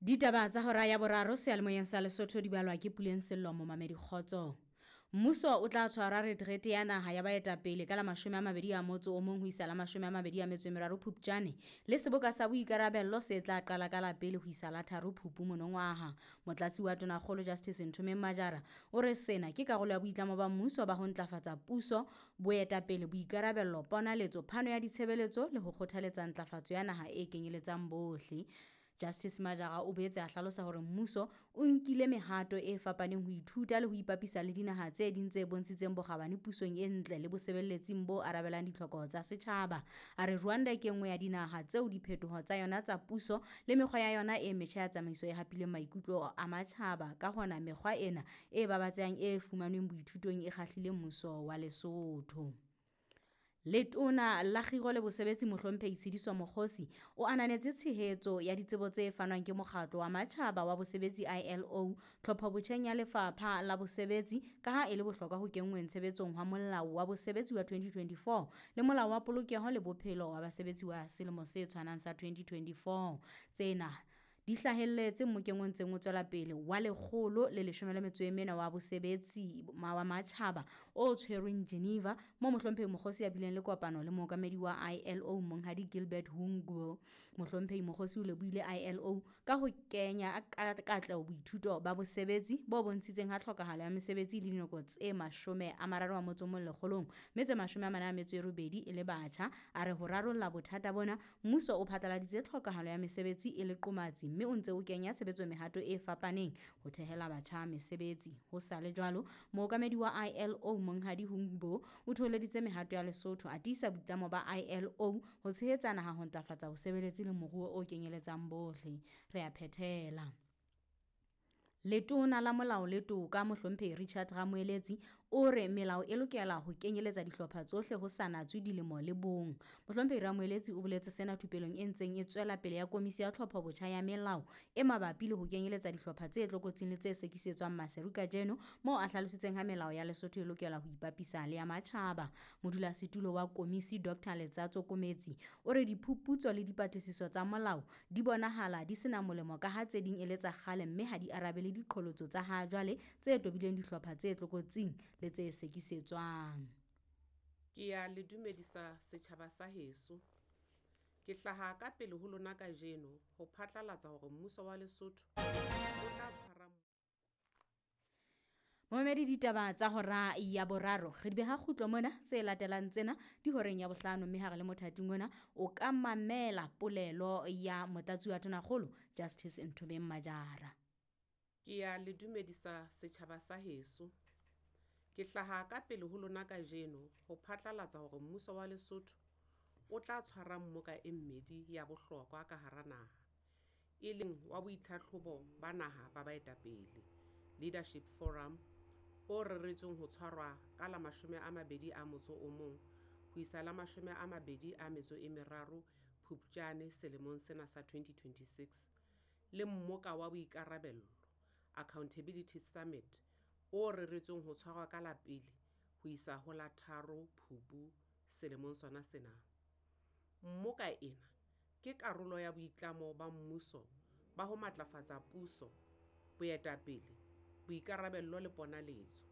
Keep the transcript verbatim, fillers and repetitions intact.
Ditaba tsa hora ya boraro seyalemoyeng sa Lesotho di balwa ke Puleng Sello momamedi kgotso. Mmuso o tla tshwara retrete ya naha ya baetapele ka la mashome a mabedi a motso o mong ho isa la mashome a mabedi a metso e meraro Phupjane le seboka sa boikarabello se tla qala ka la pele ho isa la tharo Phupu monongwaha. Motlatsi wa Tonakgolo Justice Nthomeng Majara o re sena ke karolo ya boitlamo ba mmuso ba ho ntlafatsa puso, boetapele, boikarabello, ponaletso, phano ya ditshebeletso le ho kgothaletsa ntlafatso ya naha e kenyeletsang bohle. Justice Majara o boetse a hlalosa hore mmuso o nkile mehato e fapaneng ho ithuta le ho ipapisa le dinaha tse ding tse bontshitseng bokgabane pusong e ntle le bosebeletsing bo arabelang ditlhoko tsa setjhaba. A re Rwanda ke e nngwe ya dinaha tseo diphetoho tsa yona tsa puso le mekgwa ya yona e metjha ya tsamaiso e hapileng maikutlo a matjhaba. Ka hona mekgwa ena e babatsehang e fumanweng boithutong e kgahlile mmuso wa Lesotho. Letona la Kgiro le Bosebetsi Mohlomphehi Tshediso Mokgosi o ananetse tshehetso ya ditsebo tse fanwang ke Mokgatlo wa Matjhaba wa Bosebetsi I L O tlhophobotjheng ya Lefapha la Bosebetsi ka ha e le bohlokwa ho kenngweng tshebetsong hwa Molao wa Bosebetsi wa twenty twenty-four le Molao wa Polokeho le Bophelo wa Basebetsi wa selemo se tshwanang sa twenty twenty-four. Tsena di hlahelletse mmokeng o ntseng o tswela pele wa lekgolo le leshome le metso e mene wa bosebetsi wa matjhaba o tshwerweng Geneva mo Mohlomphehi Mokgosi a bileng le kopano le mookamedi wa I L O Monghadi Gilbert Houngbo. Mohlomphehi Mokgosi o lebohile I L O ka ho kenya ka katleho boithuto ba bosebetsi bo bontshitseng ha tlhokahalo ya mesebetsi le dinako tse mashome a mararo a motso o mong lekgolong mme tse mashome a mane a metso e robedi e le batjha. A re ho rarolla bothata bona mmuso o phatlaladitse tlhokahalo ya mesebetsi e le qomatsi mme o ntse o kenya tshebetso mehato e fapaneng ho thehela batjha mesebetsi. Ho sa le jwalo, mookamedi wa I L O Monghadi Houngbo o thoholeditse mehato ya Lesotho a tiisa boitlamo ba I L O ho tshehetsa naha ho ntlafatsa bosebeletsi le moruo o kenyeletsang bohle. Re a phethela. Letona la Molao le Toka Mohlomphehi Richard Ramoeletsi o re melao e lokela ho kenyeletsa dihlopha tsohle ho sa natswe dilemo le bong. Mohlomphehi Ramoeletsi o boletse sena thupelong e ntseng e tswela pele ya komisi ya tlhophobotjha ya melao e mabapi le ho kenyeletsa dihlopha tse tlokotsing le tse sekisetswang Maseru kajeno, moo a hlalositseng ha melao ya Lesotho e lokela ho ipapisa le ya matjhaba. Modulasetulo wa komisi Doctor Letsatso Kometsi o re diphuputso le dipatlisiso tsa molao di bonahala di sena molemo ka ha tse ding e le tsa kgale mme ha di arabele diqholotso tsa ha jwale tse tobileng dihlopha tse tlokotsing le tse sekisetswang. Ke ya le dumedisa setjhaba sa heso. Ke hlaha ka pele ho lona kajeno ho phatlalatsa hore mmuso wa Lesotho o tla tshwara Momamedi, ditaba tsa hora ya boraro re di beha kgutlo mona, tse latelang tsena di horeng ya bohlano, mme ha re le mothating ona o ka mamela polelo ya Motlatsi wa Tonakgolo Justice Nthomeng Majara. Ke ya le dumedisa setjhaba sa heso. Ke hlaha ka pele ho lona kajeno ho phatlalatsa hore mmuso wa Lesotho o tla tshwara mmoka e mmedi ya bohlokwa ka hara naha, e leng wa boitlhatlhobo ba naha ba baetapele Leadership Forum o reretsweng ho tshwarwa ka la mashome a mabedi a motso o mong ho isa la mashome a mabedi a metso e meraro Phupjane selemong sena sa twenty twenty-six, le mmoka wa boikarabello Accountability Summit o reretsweng ho tshwarwa ka la pele ho isa ho la tharo Phupu selemong sona sena. Mmoka ena ke karolo ya boitlamo ba mmuso ba ho matlafatsa puso, boetapele, boikarabello le ponaletso,